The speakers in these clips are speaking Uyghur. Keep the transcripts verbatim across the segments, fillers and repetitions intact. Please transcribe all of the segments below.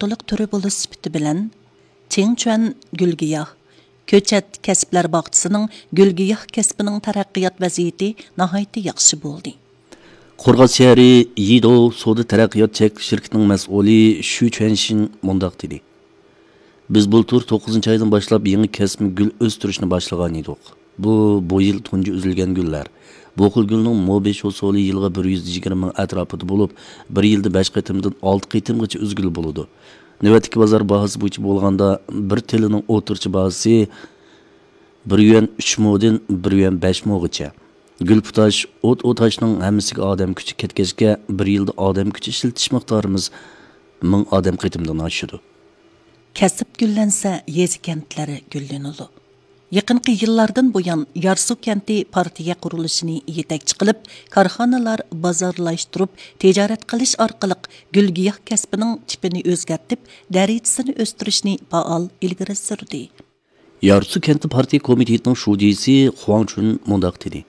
ئوتتۇلۇق تۈرى بولۇش سۈپىتى بىلەن، چىڭچۈەن گۈلگىياھ كۆچەت كەسىپلەر باغچىسىنىڭ گۈلگىياھ كەسپىنىڭ تەرەققىيات ۋەزىيىتى ناھايىتى ياخشى بولدى. قورغاس شەھىرى يىدو سودا تەرەققىيات چەكلىك شىركىتىنىڭ مەسئۇلى شۈ چۈەنشىن مۇنداق دېدى: بىز بۇلتۇر توققۇزىنچى ئايدىن باشلاپ يېڭى كەسىپ گۈل ئۆستۈرۈشنى باشلىغان ئىدۇق. بۇ، بۇ يىل تۇنجى ئۈزۈلگەن گۈللەر. بۇ خىل گۈلنىڭ موبېش ھوسۇلى يىلىغا بىر يۈز يىگىرمە مىڭ ئەتراپىدا بولۇپ، بىر يىلدا بەش قېتىمدىن ئالتە قېتىمغىچە ئۈزگىلى بولىدۇ. نۆۋەتتىكى بازار باھاسى بويىچە بولغاندا، بىر تېلىنىڭ ئوتتۇرىچە باھاسى بىر يۈەن ئۈچ مودىن بىر يۈەن بەش موغىچە. گۈل پۇتاش، ئوت ئوتاشنىڭ ھەممىسىگە ئادەم كۈچى كەتكەچكە، بىر يىلدا ئادەم كۈچى ئىشلىتىش مىقدارىمىز مىڭ ئادەم قېتىمدىن ئاشىدۇ. كەسىپ گۈللەنسە، يېزا كەنتلەر گۈللىنىدۇ. يېقىنقى يىللاردىن بۇيان، يارسۇ كەنتى پارتىيە قۇرۇلۇشىنى يېتەكچى قىلىپ، كارخانىلار بازارلاشتۇرۇپ، تىجارەت قىلىش ئارقىلىق گۈل-گىياھ كەسپىنىڭ تىپىنى ئۆزگەرتىپ، دەرىجىسىنى ئۆستۈرۈشنى پائال ئىلگىرى سۈردى. يارسۇ كەنتى پارتىيە كومىتېتىنىڭ شۇجىسى خۇاڭ چۈن مۇنداق دېدى: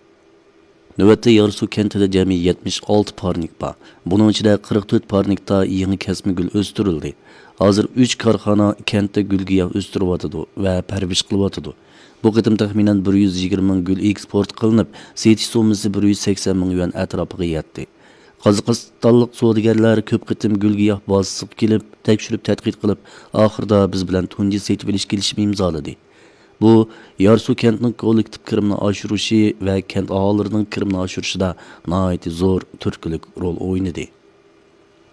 نۆۋەتتە يارسۇ كەنتىدە جەمئىي يەتمىش ئالتە پارنىك بار. بۇنىڭ ئىچىدە قىرىق تۆت پارنىكتا يېڭى كەسمە گۈل ئۆستۈرۈلدى. ھازىر ئۈچ كارخانا كەنتتە گۈل-گىياھ ئۆستۈرۈۋاتىدۇ ۋە پەرۋىش قىلىۋاتىدۇ. بۇ قېتىم تەخمىنەن بىر يۈز يىگىرمە مىڭ گۈل ئېكسپورت قىلىنىپ، سېتىش سوممىسى بىر يۈز سەكسەن مىڭ يۈەن ئەتراپىغا يەتتى. قازاقىستانلىق سودىگەرلەر كۆپ قېتىم گۈل-گىياھ بازىسىغا كېلىپ، تەكشۈرۈپ تەتقىق قىلىپ، ئاخىرىدا بىز بىلەن تۇنجى سېتىۋېلىش كېلىشىمى ئىمزالىدى. بۇ، يارسۇ كەنتىنىڭ كوللېكتىپ كىرىمىنى ئاشۇرۇشى ۋە كەنت ئاھالىلىرىنىڭ كىرىمىنى ئاشۇرۇشىدا ناھايىتى زور تۈرتكىلىك رول ئوينىدى.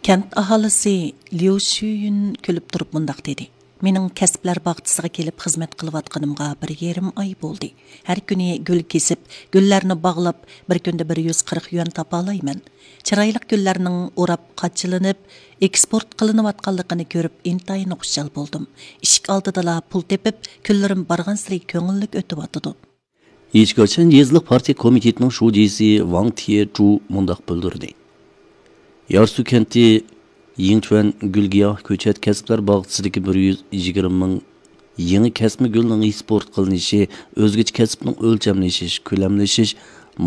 كەنت ئاھالىسى ليۇ شۈيۈن كۈلۈپ تۇرۇپ مۇنداق دېدى: مېنىڭ كەسىپلەر باغچىسىغا كېلىپ خىزمەت قىلىۋاتقىنىمغا بىر يېرىم ئاي بولدى. ھەر كۈنى گۈل كېسىپ، گۈللەرنى باغلاپ، بىر كۈندە بىر يۈز قىرىق يۈەن تاپالايمەن. چىرايلىق گۈللەرنىڭ ئوراپ قاچىلىنىپ، ئېكسپورت قىلىنىۋاتقانلىقىنى كۆرۈپ ئىنتايىن خۇشال بولدۇم. ئىشىك ئالدىدىلا پۇل تېپىپ، كۈنلىرىم بارغانسېرى كۆڭۈللۈك ئۆتۈۋاتىدۇ. يىچىگاشەن يېزىلىق پارتىيە كومىتېتىنىڭ شۇجىسى ۋاڭ تيې چۇ مۇنداق بىلدۈردى: يارسۇ كەنتى يىڭچۈەن گۈل-گىياھ كۆچەت كەسىپلەر باغچىسىدىكى بىر يۈز يىگىرمە مىڭ يېڭى كەسمە گۈلنىڭ ئېكسپورت قىلىنىشى ئۆزگىچە كەسىپنىڭ ئۆلچەملىشىش، كۆلەملىشىش،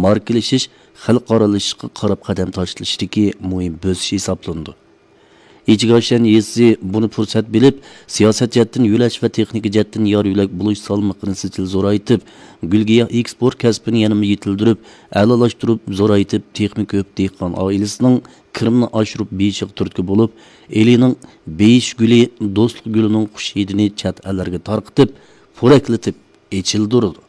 ماركىلىشىش، خەلقئارالىشىشقا قاراپ قەدەم تاشلىشىدىكى مۇھىم بۆسۈش ھېسابلىنىدۇ. ئىچىگاشەن يېزىسى بۇنى پۇرسەت بىلىپ، سىياسەت جەھەتتىن يۆلەش ۋە تېخنىكا جەھەتتىن يار يۆلەك بولۇش سالمىقىنى سىجىل زورايتىپ، گۈل-گىياھ ئېكسپورت كەسپىنى يەنىمۇ يېتىلدۈرۈپ، ئەلالاشتۇرۇپ، زورايتىپ، تېخىمۇ كۆپ دېھقان ئائىلىسىنىڭ كىرىمىنى ئاشۇرۇپ بېيىشىغا تۈرتكە بولۇپ، ئىلىنىڭ بېيىش گۈلى، دوستلۇق گۈلىنىڭ خۇش ھىدىنى چەت ئەللەرگە تارقىتىپ، پورەكلىتىپ ئېچىلدۇرىدۇ.